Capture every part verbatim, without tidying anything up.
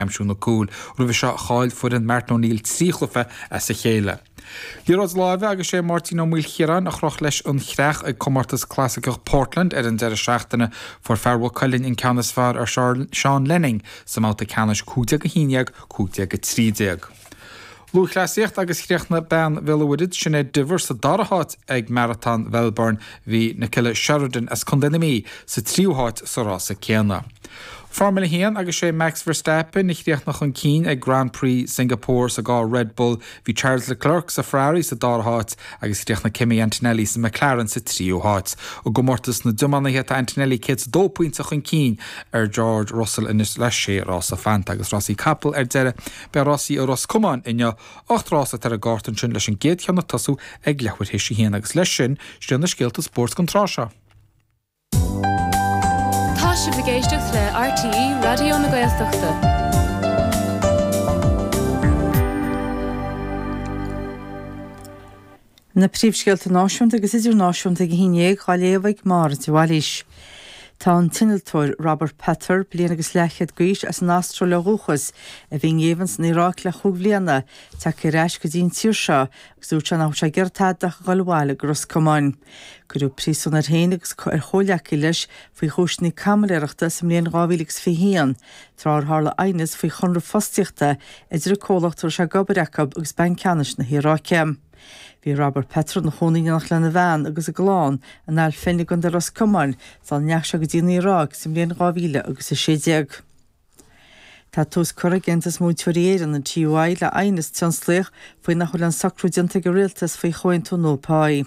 aimsiú na cúil. Roimhe seo chaill foireann Martin O'Neill trí chluiche as a chéile. Liathróid láimhe agus sé Máirtín Ó Maoilchiaráin a chroch leis an chreach ag comórtas clasaiceach Portland ar an deireadh seachtaine fuair fear Mhaigh Cuilinn an ceann is fearr ar Sean Lenning sa mbabhta ceannais cúig déag a haon déag, cúig déag a trí déag. Lúthchleasaíocht agus chríochnaigh bean Bhéal an Mhuirthead, Sinéad Diver sa dara háit ag Maratón Mhelbourne. Bhí Nicola Sheridan as Contae na Mí sa tríú háit sa rása céanna. Formula a haon agus sé Max Verstappen a chríochnaigh chun cinn ag Grand Prix Singapore sa gcarr Red Bull. Bhí Charles Leclerc sa Ferrari sa dara háit agus chríochnaigh Kimi Antonelli sa McLaren sa tríú háit. I gcomórtas na dtiománaithe tá Antonelli céad is a dó pointe chun cinn ar George Russell anois le sé rása fanta agus rásaí capall ar deireadh. Beidh rásaí i Ros Comáin inniu, ocht rás atá ar an gcárta ansin leis an gcéad cheann ag tosú ag leathuair théis a haon agus leis sin, sin na scéalta spóirt don tráth seo. Tá sibh ag éisteacht le RTÉ Raidió na Gaeltachta. Na príomhscéalta náisiúnta agus idirnáisiúnta ag a haon déag á léamh ag Máire de Bhailís. Tá an t-innealtóir Robert Petter, bliain agus leathchéad d'aois, as an Astráil ó dhúchas, a bhí i ngéibheann san Iaráic le chúig bhliana, tagtha ar ais go dtí an tír seo agus dúirt sé nach bhfuil sé ag iarraidh tada ach a dhul abhaile go Ros Comáin. Cuireadh príosún air féin agus ar chomhghleacaí leis faoi chúiseanna caimiléireachta sa mbliain dhá mhíle agus fiche haon, tráth ar tharla aighneas faoi chonradh fostaíochta idir an comhlacht a raibh sé ag obair acu agus Banc Ceannais na hIaráice. Bhí Robert Petter ina chónaí in éineacht lena bhean agus a gclann in Ail Finn i gContae Ros Comáin sula ndeachaigh sé go dtí an Iaráic sa mbliain dhá mhíle agus a sé déag. Tá tús curtha ag Aontas Múinteoirí Éireann, an TUI, le aighneas tionsclaíoch faoi nach bhfuil aon socrú déanta ag an Rialtas faoi chomhaontú nua páí.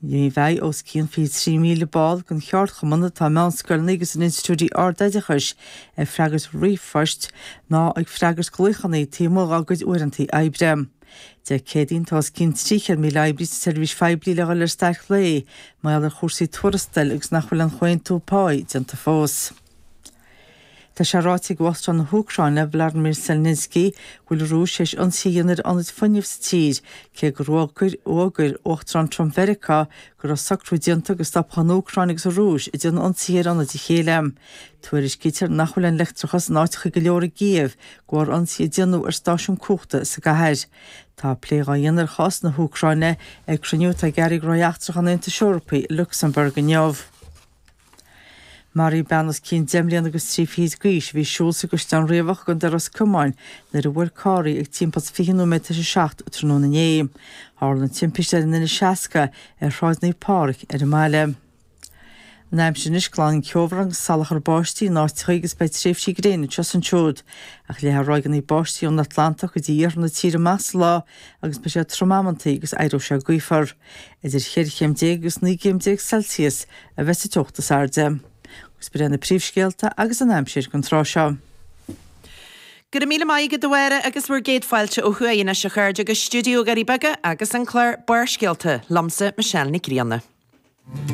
Ní bheidh os cionn fiche trí míle ball den cheardchumann atá i meánscoileanna agus in institiúidí ardoideachais ag freagairt ríomhphoist ná ag freagairt glaochanna taobh amuigh dá gcuid uaireanta oibre. Dé Céadaoin tá os cionn trí chéad míle oibrí sa tseirbhís phoiblí le dhul ar stailc lae mar gheall ar chúrsaí tuarastail agus nach bhfuil aon chomhaontú páí déanta fós. Tá sé ráite ag Uachtarán na hÚcráine, Vladimir Zelensky, go bhfuil an Rúis théis ionsaí a dhéanamh ar ionaid fuinnimh sa tír, cé gur fhógair Uachtarán Trump Mheiriceá go raibh socrú déanta go stopfadh an Úcráin agus an Rúis ag déanamh ionsaithe ar ionaid a chéile. Tuairiscítear nach bhfuil aon leictreachas in áiteacha go leor i gCív de bharr ionsaí a déanadh ar stáisiún cumhachta sa gcathair. Tá plé dhá dhéanamh ar chás na hÚcráine ag cruinniú atá ag Airí Gnóthaí Eachtracha an Aontais Eorpaigh i Lucsamburg inniu. Maraíodh bean os cionn deich mbliana agus trí fichid d'aois a bhí ag siúl sa gCaisleán Riabhach i gContae Ros Comáin nuair a bhuail carr í ag timpeall is fiche nóiméad tar éis a seacht tráthnóna inné. Tharla an timpiste ar an N seasca ar Shráid Naomh Pádraig ar an mbaile. An aimsir anois, glanfaidh an ceobhrán agus salachar báistí in áiteacha agus beidh tréimhsí gréine anseo is ansiúd. Ach leathfaidh ráigeanna báistí ón Atlantach go dtí iarthar na tíre amach sa lá agus beidh sé trom amantaí agus éireoidh sé gaofar. Idir cheithre chéim déag agus naoi gcéim déag Celsius a bheas an teocht is airde. Agus b'in iad na príomhscéalta agus an aimsir don tráth seo. Go raibh míle maith agat a Mháire agus bhur gcéad fáilte ó thuaidh anois a chairde go stiúideo Dhoirí Beaga agus an clár Barrscéalta liomsa Michelle Nic Grianna.